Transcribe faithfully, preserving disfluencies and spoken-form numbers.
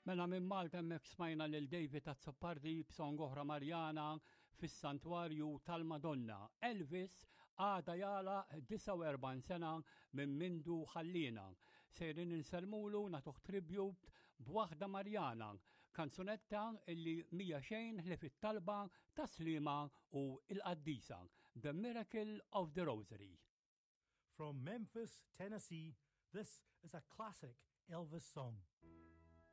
Mela minn Malta hemmhekk smajna lil David Azzopardi b'song oħra Marjana fis-Santwarju tal-Madonna. Elvis għada jagħlaq disgħa u erbgħin sena minn mindu ħallina. Sejrin insellmulu, nagħtuh tribute b'waħda Marjana, kanzunetta illi mhija xejn ħlief it-talba ta' Sliema u il-Qaddisa, The Miracle of the Rosary. From Memphis, Tennessee, this is a classic Elvis song.